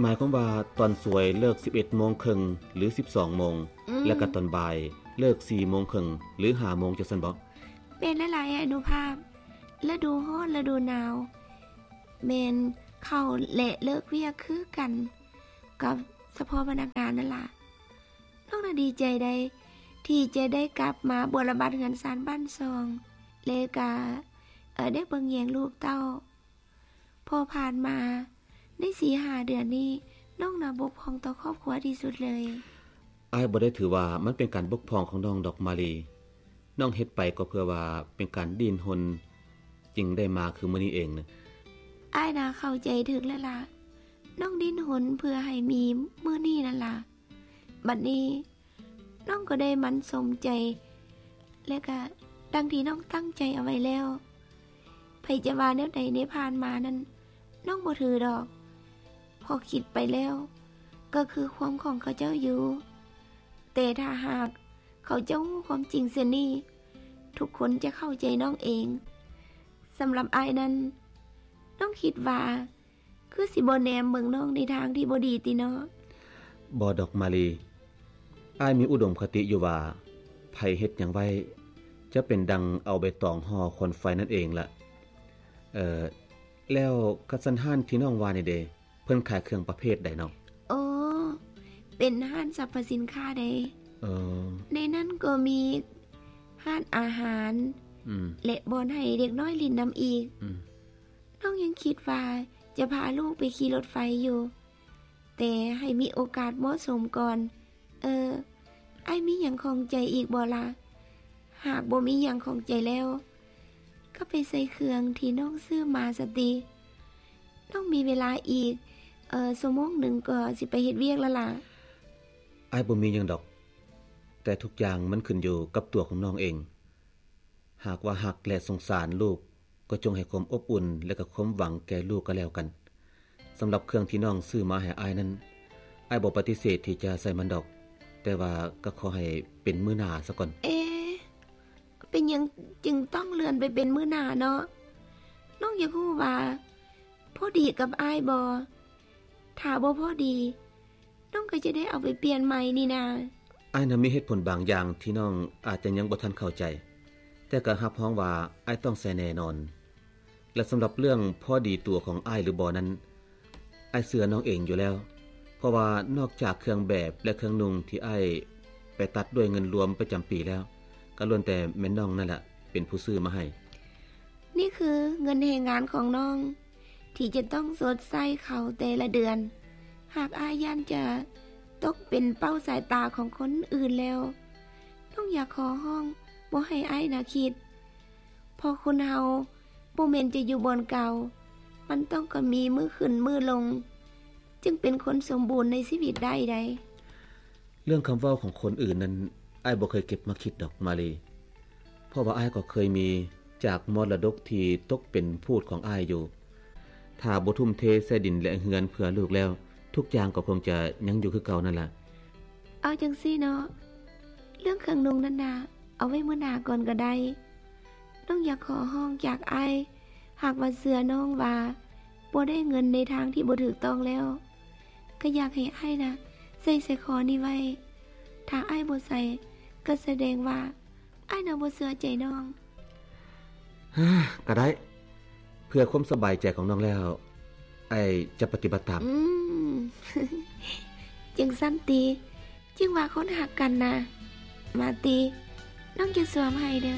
ໝາຍຄວາມວ່າຕອນສວຍເລີກສິບເອັດໂມງເຄິ່ງ ຫຼື ສິບສອງໂມງ ອືມ ແລະກະຕອນບ່າຍເລີກສີ່ໂມງເຄິ່ງ ຫຼື ຫ້າໂມງ ຈັ່ງຊັ້ນບໍ? ແມ່ນແລ້ວຫຼາຍອະນຸພາບ. ລະດູຮ້ອນ ລະດູໜາວ ແມ່ນເຂົ້າ ແລະ ເລີກວຽກຄືກັນກັບສະເພາະພະນັກງານນັ້ນລະ. ນ້ອງນະດີໃຈໃດທີ່ຈະໄດ້ກັບມາບົວລະບັດເຮືອນຊານບ້ານຊ່ອງ ແລະກະ ເອີ ໄດ້ເບິ່ງແຍງລູກເຕົ້າ ເພາະຜ່ານມາໃນສີ່ຫ້າເດືອນນີ້ ນ້ອງນະບົກຜ່ອງຕໍ່ຄອບຄົວທີ່ສຸດເລີຍ. ອ້າຍບໍ່ໄດ້ຖືວ່າມັນເປັນການບົກຜ່ອງຂອງນ້ອງດອກມາລີ. ນ້ອງເຮັດໄປກໍເພື່ອວ່າເປັນການດີ້ນຮົນ ຈຶ່ງໄດ້ມາຄືມື້ນີ້ເອງນະ. ອ້າຍນະເຂົ້າໃຈຖືກແລ້ວລະ. ນ້ອງດີ້ນຮົນເພື່ອໃຫ້ມີມື້ນີ້ນັ້ນລະ. ບັດນີ້ນ້ອງກໍໄດ້ໝັ້ນສົມໃຈ ແລະກະດັ່ງທີ່ນ້ອງຕັ້ງໃຈເອົາໄວ້ແລ້ວ. ໃຜຈະວ່າແນວໃດໃນຜ່ານມານັ້ນ ນ້ອງບໍ່ຖືດອກ ເພາະຄິດໄປແລ້ວກໍຄືຄວາມຂອງເຂົາເຈົ້າຢູ່. ແຕ່ຖ້າຫາກເຂົາເຈົ້າຮູ້ຄວາມຈິງເຊັ່ນນີ້ ທຸກຄົນຈະເຂົ້າໃຈນ້ອງເອງ. ສຳລັບອ້າຍນັ້ນ ນ້ອງຄິດວ່າ ຄືຊິບໍ່ແນມເບິ່ງນ້ອງໃນທາງທີ່ບໍ່ດີຕິເນາະ? ບໍ່ດອກມາລີ. ອ້າຍມີອຸດົມຄະຕິຢູ່ວ່າ ໃຜເຮັດຫຍັງໄວ້ ຈະເປັນດັ່ງເອົາໃບຕອງຫໍ່ຄວັນໄຟນັ້ນເອງລະ. ເອີ ແລ້ວກະຊັ້ນຮ້ານທີ່ນ້ອງວ່ານີ້ເດ ເພິ່ນຂາຍເຄື່ອງປະເພດໃດເນາະ? ໂອ້ ເປັນຮ້ານສັບພະສິນຄ້າໃດ໋. ເອີ ໃນນັ້ນກໍມີຮ້ານອາຫານ ອືມ ແລະ ບ່ອນໃຫ້ເດັກນ້ອຍຫຼິ້ນນຳອີກ. ອືມ ນ້ອງຍັງຄິດວ່າຈະພາລູກໄປຂີ່ລົດໄຟຢູ່ ແຕ່ໃຫ້ມີໂອກາດເໝາະສົມກ່ອນ. ເອີ ອ້າຍມີຫຍັງຂ້ອງໃຈອີກບໍ່ລະ? ຫາກບໍ່ມີຫຍັງຂ້ອງໃຈແລ້ວ ກໍໄປໃສ່ເຄື່ອງທີ່ນ້ອງຊື້ມາສະຕິ. ນ້ອງມີເວລາອີກ ເອີ ຊົ່ວໂມງໜຶ່ງກໍຊິໄປເຮັດວຽກແລ້ວລະ. ອ້າຍບໍ່ມີຫຍັງດອກ, ແຕ່ທຸກຢ່າງມັນຂຶ້ນຢູ່ກັບຕົວຂອງນ້ອງເອງ. ຫາກວ່າຮັກ ແລະ ສົງສານລູກ ກໍຈົ່ງໃຫ້ຄວາມອົບອຸ່ນ ແລະ ກໍຄວາມຫວັງແກ່ລູກກໍແລ້ວກັນ. ສຳລັບເຄື່ອງທີ່ນ້ອງຊື້ມາໃຫ້ອ້າຍນັ້ນ, ອ້າຍບໍ່ປະຕິເສດທີ່ຈະໃຊ້ມັນດອກ, ແຕ່ວ່າກໍຂໍໃຫ້ເປັນມື້ໜ້າສາກ່ອນ. ເອ ເປັນຫຍັງຈຶ່ງຕ້ອງເລື່ອນໄປເປັນມື້ໜ້າເນາະ? ນ້ອງຢາກຮູ້ວ່າພໍດີກັບອ້າຍບໍ່? ຖ້າບໍ່ພໍດີ, ນ້ອງກໍຈະໄດ້ເອົາໄປປ່ຽນໃໝ່ນີ້ນາ. ອ້າຍນະມີເຫດຜົນບາງຢ່າງທີ່ນ້ອງອາດຈະຍັງບໍ່ທັນເຂົ້າໃຈ, ແຕ່ກໍຮັບຮອງວ່າອ້າຍຕ້ອງໃສ່ແນ່ນອນ. ແລະ ສຳລັບເລື່ອງພໍດີຕົວຂອງອ້າຍຫຼືບໍ່ນັ້ນ, ອ້າຍເຊື່ອນ້ອງເອງຢູ່ແລ້ວ, ເພາະວ່ານອກຈາກເຄື່ອງແບບ ແລະ ເຄື່ອງນຸ່ງທີ່ອ້າຍໄປຕັດດ້ວຍເງິນລວມປະຈຳປີແລ້ວ, ກໍລ້ວນແຕ່ແມ່ນນ້ອງນັ້ນແຫຼະເປັນຜູ້ຊື້ມາໃຫ້. ນີ້ຄືເງິນແຮງງານຂອງນ້ອງ ທີ່ຈະຕ້ອງຊົດໃຊ້ເຂົາແຕ່ລະເດືອນ. ຫາກອ້າຍຢ້ານຈະຕົກເປັນເປົ້າສາຍຕາຂອງຄົນອື່ນແລ້ວ, ນ້ອງຢາກຂໍຮ້ອງບໍ່ໃຫ້ອ້າຍນະຄິດ, ເພາະຄົນເຮົາບໍ່ແມ່ນຈະຢູ່ບ່ອນເກົ່າ, ມັນຕ້ອງກະມີມື້ຂຶ້ນມື້ລົງ, ຈຶ່ງເປັນຄົນສົມບູນໃນຊີວິດໄດ້ໃດ໋. ເລື່ອງຄຳເວົ້າຂອງຄົນອື່ນນັ້ນ, ອ້າຍບໍ່ເຄີຍເກັບມາຄິດດອກ ມາລີ. ເພາະວ່າອ້າຍກໍເຄີຍມີຈາກມໍລະດົກທີ່ຕົກເປັນພູດຂອງອ້າຍຢູ່. ຖ້າບໍ່ທຸ່ມເທໃສ່ດິນ ແລະ ເຮືອນເພື່ອລູກແລ້ວ, ທຸກຢ່າງກໍຄົງຈະຍັງຢູ່ຄືເກົ່ານັ້ນລະ. ເອົາຈັ່ງຊີ້ເນາະ, ເລື່ອງເຄື່ອງນຸ່ງນັ້ນນະ, ເອົາໄວ້ມື້ໜ້າກ່ອນກໍໄດ້. ນ້ອງຢາກຂໍຮ້ອງຈາກອ້າຍ, ຫາກວ່າເຊື່ອນ້ອງວ່າບໍ່ໄດ້ເງິນໃນທາງທີ່ບໍ່ຖືກຕ້ອງແລ້ວ, ກໍຢາກໃຫ້ອ້າຍນະໃສ່ສາຍຄໍນີ້ໄວ້. ຖ້າອ້າຍບໍ່ໃສ່, ກໍສະແດງວ່າອ້າຍນະບໍ່ເຊື່ອໃຈນ້ອງ. ກໍໄດ້, ເພື່ອຄວາມສະບາຍໃຈຂອງນ້ອງແລ້ວ, ອ້າຍຈະປະຕິບັດຕາມ. ອືມ, ຈັ່ງຊັ້ນຕິ? ຈຶ່ງວ່າຄົນຮັກກັນນະ. ມາຕິ, ນ້ອງຈະສວມໃຫ້ເດີ້.